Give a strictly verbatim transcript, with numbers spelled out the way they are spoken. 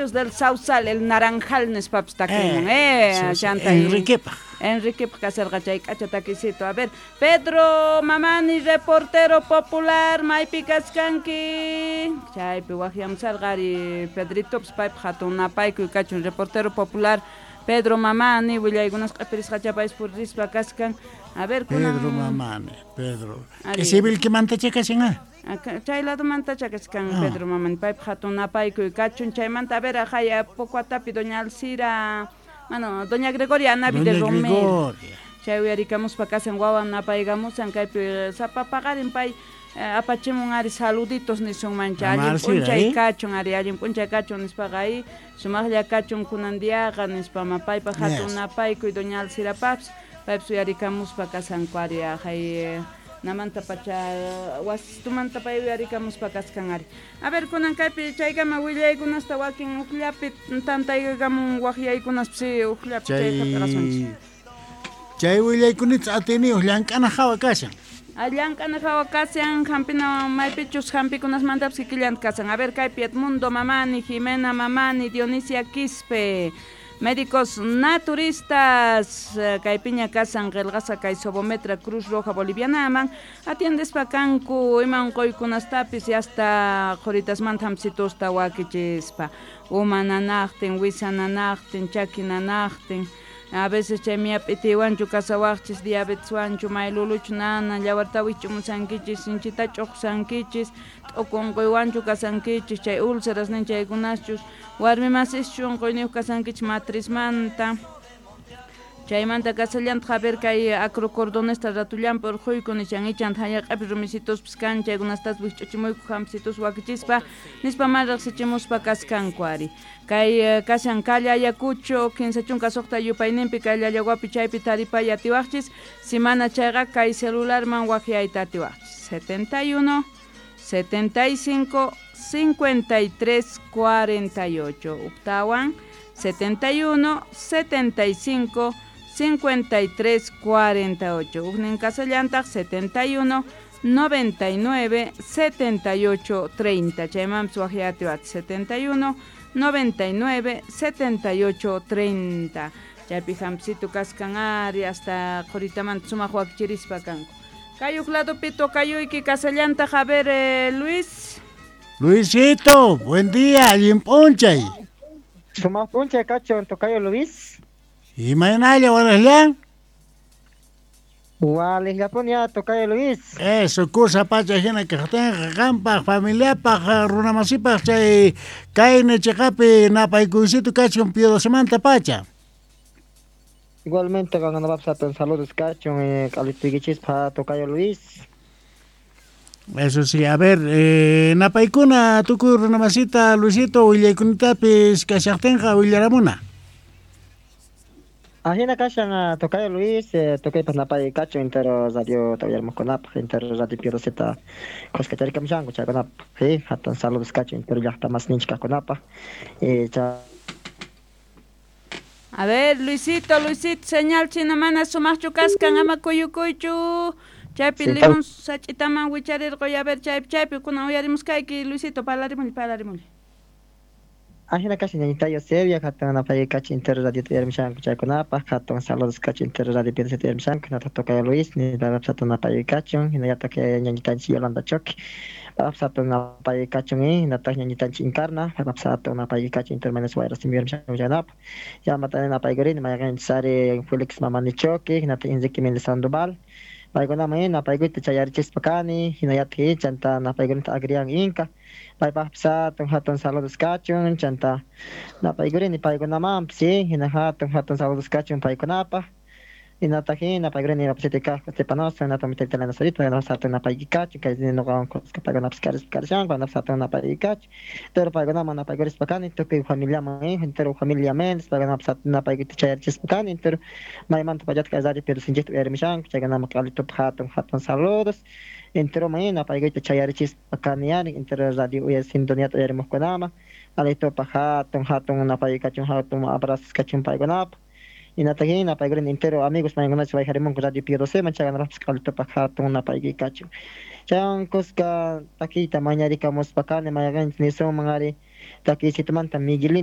Limpios del Sausal, el Naranjal nispapis takimun, eh, chanta Enriquepaj. Enriquepaj kasarqa chay k'acha takisito. A ver, Pedro Mamani, reportero popular, maypi kaskanki. Chaypi waqyamusarqa ari Pedritopis paypaj hatun napaykuy kachun, reportero popular Pedro Mamani, willaykunas q'ipirisqacha paypis purispa kaskan. A ver, kunan Pedro Mamani, Pedro. Ari. Civilquimantacha kashan, ah? Chay ladomantacha kaskan Ah. Pedro Mamani, paypaj hatun napaykuy kachun. Chaymanta, a ver, ajaya Pocuatapi, doña Alcira, bueno, doña Gregoria Anavi de Doña Romero. Gregoria. Chay uyarikamuspa kasan wawan napaykamusan kaypi sapa paqarin pay eh, apachimun ari saluditos nisunmancha, Mama allin Alcira, p'unchay eh? kachun ari, allin p'unchay kachun nispaqa ahí sumaqlla kachun kunan diaqa nispa ma paypaj hatun Yes. napaykuy doña Alcirapapis paypis uyarikamuspa kasanku ari ajay namanta pacha wasistumanta pay uyarikamuspa kaskan ari. A ver, kunan kaypi chaykama willaykunasta wakin ujllapi tantaykamun waqyaykunaspis ujllapi chay hap'irasunchis. Chay chay willaykunita atiniyuq llank'ana hawa kashan. Llank'ana hawa kashan, hampina maypichus hampikunasmantapis kikillanta kasan. A ver, kaypi Edmundo Mamani, Jimena Mamani, Dionisia Quispe, médicos naturistas, kaypiña kasan qillqasqa kay Sobometra Cruz Roja Bolivianaman, atiendespa kanku ima unquykunastapis y hasta qhuritasmanta hampsitusta wakichispa, uma nanaqtin, wisa nanaqtin, chaki nanaqtin. A veces chay miyap'itiwanchu kasawaqchis, diabeteswanchu, mayluluchu nana, llawarta wich'umusankichis, sinchita ch'uqsankichis, t'uku unquywanchu kasankichis, chay úlceras nin chaykunaschus, warmi masischu unquyniyuq kasankichis matrizmanta. Chaymanta kasallantaq a ver kay acrocordonesta ratullanpi urquyku nishan ichanta hallaq'api rumisituspis kan chaykunastas wikch'uchimuyku hampisitus wakichispa nispa man riqsichimuspa kaskanku ari. Kay kashan calle Ayacucho kinsa chunka suqta yupayninpi kay Llallaguapi chaypi taripay atiwaqchis, si mana chayqa kay celularman waqyayta atiwaqchis setenta y uno, setenta y cinco, cincuenta y tres, cuarenta y ocho. Octawan setenta y uno, setenta y cinco, cincuenta y tres, cuarenta y ocho. Ujnin kasallantaq setenta y uno, noventa y nueve, setenta y ocho, treinta. Chaymanpis waqyatiwat setenta y uno, noventa y nueve, setenta y ocho, treinta. Chaypi hampisitu kaskan ari hasta qhuritamanta sumaq wakichirispa kanku. Kay uj ladopi tocayuyki kasallantaq, a ver, eh, Luis. Luisito, buen día, allin p'unchay. Sumaq p'unchay kachun, tocayo Luis. Imaynalla walejllan? Walejllapuni ya, tocayo Luis. Eso, kusa pacha hina kaqtinqa qampaq, familiapaq, runamasipaq chay kayna chiqapi napaykuysito kachun Pío Dosemanta pacha. Igualmente, qankunapapis hatun saludos kachun, eh, k'alituykichispa, tocayo Luis. Eso sí, a ver, eh, napaykuna tukuy runamasita Luisito willaykunitapis kashaqtinqa willaramuna. Ajina kashan tocayo Luis, eh, tocaypas napay kachun entero radio tawillarmuqkunapaq, entero radio Pío Doceta khuskacharikamushanku chaykunapaq, sí, hatun saludos kachun entero llaqta masninchik kaqkunapaq, eh, cha A ver, Luisito, Luisito, señal china mana sumaqchu kaskan, ama kuyukuychu. Chaypi Sí. limón sach'itaman wicharirquy, a ver, chaypi, chaypi, kunan uyarimuskayki, Luisito, parlarimulli, parlarimulli. Ajina kashan ñañita Eusebia, hatun napay kachun entero radio tawillarmushanku chaykunapaq, hatun saludos kachun entero radio Pío Doceta tawillarmushanku, hinataq tocayo Luis, ninapapis hatun napay kachun, hinallataq ñañitanchik Yolanda Choque, papapis hatun napay kachun, hinataq ñañitanchik Encarna, papapis hatun napay kachun entero Manes Guayras tawillarmushanku chaykunapaq, yamata napaykurini mayqinchis ari Felix Mamani Choque, hinataq Enrique Méndez Sandoval, paykunaman napaykuyta chayarichispa kani, hinallataq chanta napaykunata Agrián Inca, paypaqpis hatun hatun saludos kachun, chanta napaykurini paykunamanpis, hina hatun hatun saludos kachun paykunapaq, hinataq napaykurini rapsiti kaq Stepanosa, hinataq mitayta Elena Sarita, paykunapis hatun napayki kachun, kay nuqawan kuska paykunapis karispa karishanku, paykunapis hatun napayki kachun, pero paykunaman napaykurispa kani, tukuy familiaman, entero familia Méndez, paykunapis hatun napaykuyta chayarichispa kani, entero maymanta pachata kay radio Pío Docenchikta uyarimushanku, chaykunaman q'alitupa hatun hatun saludos, entero may napaykuyta chayarichispa kani ari, entero radio uyar sintoniata uyarimuqkunaman, q'alitupa hatun hatun napayki kachun, hatun abrazos kachun paykunapaq. Hinataq napaykurini entero amigos maykunachus wayqarimunku radio Pío Doceman, chaykunapaqpis q'alitupa hatun napayki kachun. Chaywan kuska takiyta mañarikamuspa kani mayqinchis nisunman ari takiysitumanta Miguelina